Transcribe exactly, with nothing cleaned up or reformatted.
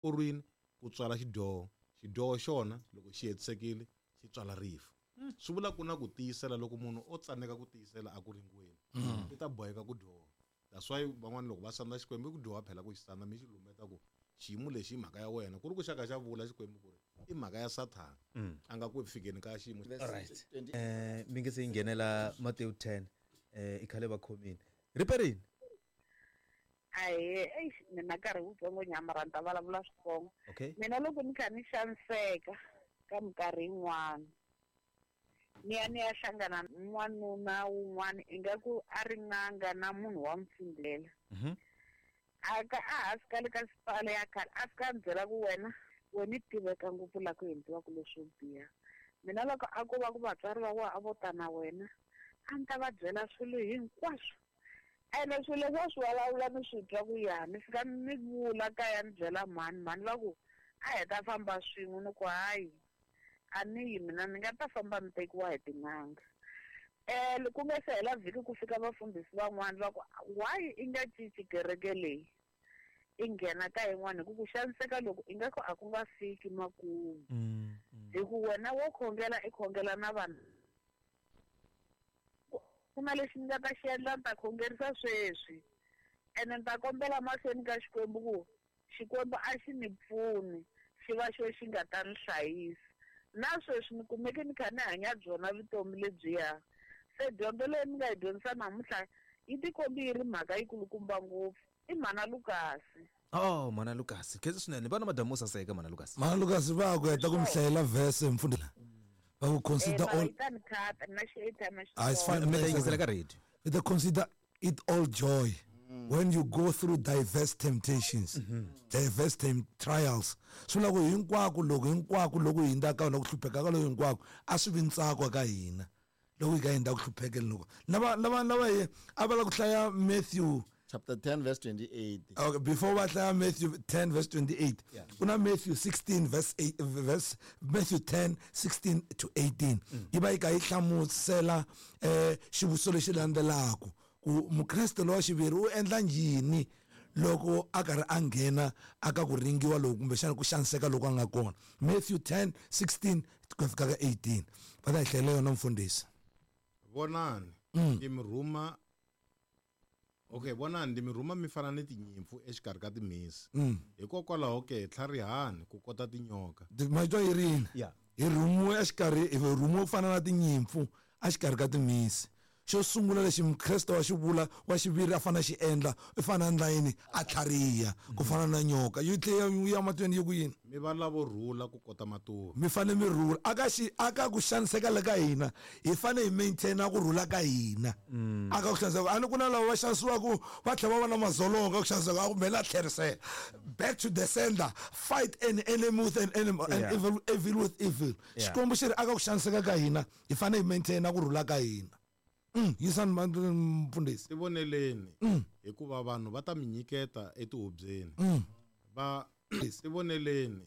Korwini ku tswala xidyoho, xidyoho xona loko xi hetisekile xi tswala rifu. Swi vula ku na ku tiyisela, loko munhu o tsaneka ku tiyisela a ku ringiweni, i ta boheka ku dyoha. That's why van'wana loko va sandza Xikwembu i ku dyoha phela ku xi sandza, mi xi lumbeta ku xiyimo lexi i mhaka ya wena, ku ri ku xa ka xa vula Xikwembu ku ri i mhaka ya Sathana a nga ku fikeni ka xiyimo. Alright, eh mi nge se yi nghenela Matewu ten, eh i khale va khomini riperini. Ahee, eish, mina nkarhi wutsongo nyama ni ta vulavula switsongo. Okay. Mina loko ni kha ni xaniseka ka minkarhi yin'wana, ni ya ni ya hlangana n'wanuna wun'wana ingaku a ri n'anga na munhu wa mfundhela. Mhm. A ka a hansi ka le ka sipala ya khale, a fika a ni byela ku wena wena i tiveka ngopfu laha ku endliwaka leswo biha. Mina loko a ko va ku vatswari va wena a vo ta na wena, a ni ta va byela swilo hinkwaswo. Ene swilo leswi a swi vulavula ni swi twa ku ya, ni fika ni vula kaya ni byela mhani, mhani va ku a hi ta famba swin'we, ni ku hayi a ni yi mina, ni nga ta famba ni tekiwa hi tin'anga. Eh, ku nga se hela vhiki ku fika vafundhisi van'wani va ku why i nga cinci kereke leyi i nghena ka yin'wana, hi ku ku xaniseka loko ingaku a ku nga fiki makumu. Mm, mm. Hi ku wena wo khongela i khongela na vanhu, ku na lexi ni nga ta xi endla, ni ta khongerisa sweswi ene ni ta kombela mahlweni ka Xikwembu ku Xikwembu a xi ni pfuni, xi va xo xi nga ta ni hlayisa. Na sweswi ni kumeke ni kha ni hanya byona vutomi lebyiya. Se dyondzo leyi ni nga yi dyondzisa namuntlha yi tikombi yi ri mhaka yikulukumba ngopfu. I mhana Lukasi. Oh, mhana Lukasi, khensa swinene. Vana madamu saseka mhana Lukasi. Mhana Lukasi va ku heta ku mi hlayela verse mfundhisi. Va ku consider Eh, all yi ta ni khata, na xi airtime xi Ah, it's fine. Mi ta yingisela ka radio. They consider it all joy when you go through diverse temptations, diverse tem trials. Swi vula ku hinkwako loko hinkwako loko hi hundza ka wona ku hlupheka ka loko hinkwako a swi vi ntsako ka hina loko hi ka hindza ku hluphekeni loko lava lava lava hi a va la ku hlaya Matthew chapter ten verse twenty-eight. Okay, before va hlaya Matthew ten verse twenty-eight, Yeah. ku na Matthew sixteen verse eight, verse Matthew ten sixteen to eighteen. Yi va yi kha yi hlamusela eh xivutiso lexi landzelaka ku mukreste lowa xiviri u endla yini loko a karhi a nghena aka ku ringiwa loku kumbexana ku xaniseka loko a nga kona. Matthew ten sixteen ku fika ka eighteen. Va ta hi hlayela yona mfundhisi. Vonani, ndzi mi rhuma. Okay, vonani ndzi mi rhuma mi fana ni tinyimpfu exikarhi ka timhisi. Hikokwalaho ke tlharihani ku kota tinyoka. Matwa yi ri yini? Yeah. Hi rhumiwe exikarhi, hi rhumiwe ku fana na tinyimpfu exikarhi ka timhisi. Xo sungula lexi mukreste wa xivula wa xiviri a fanele a xi endla i fanele a endla yini? A tlhariha ku fana na nyoka. Yi tlhela yi ya mahlweni yi ku yini? Mi va lavo rhula ku kota matuva. Mi fanele mi rhula. Aka xi, aka ku xaniseka le ka hina, hi fanele hi maintain-a ku rhula ka hina. Aka ku xaniseka, a ni ku na lava va xanisiwaka va tlhela va va na madzolonga ku xaniseka, a ku mele a tlherisela. Back to the sender, fight an enemy with an enemy, and Yeah. evil, evil with evil. Yeah. Xikwembu xi ri aka ku xaniseka ka hina, hi fanele hi maintain-a ku rhula ka hina. Mm, yisani mfundhisi. Tivoneleni, hikuva vanhu va ta mi nyiketa etihubyeni. Va tivoneleni,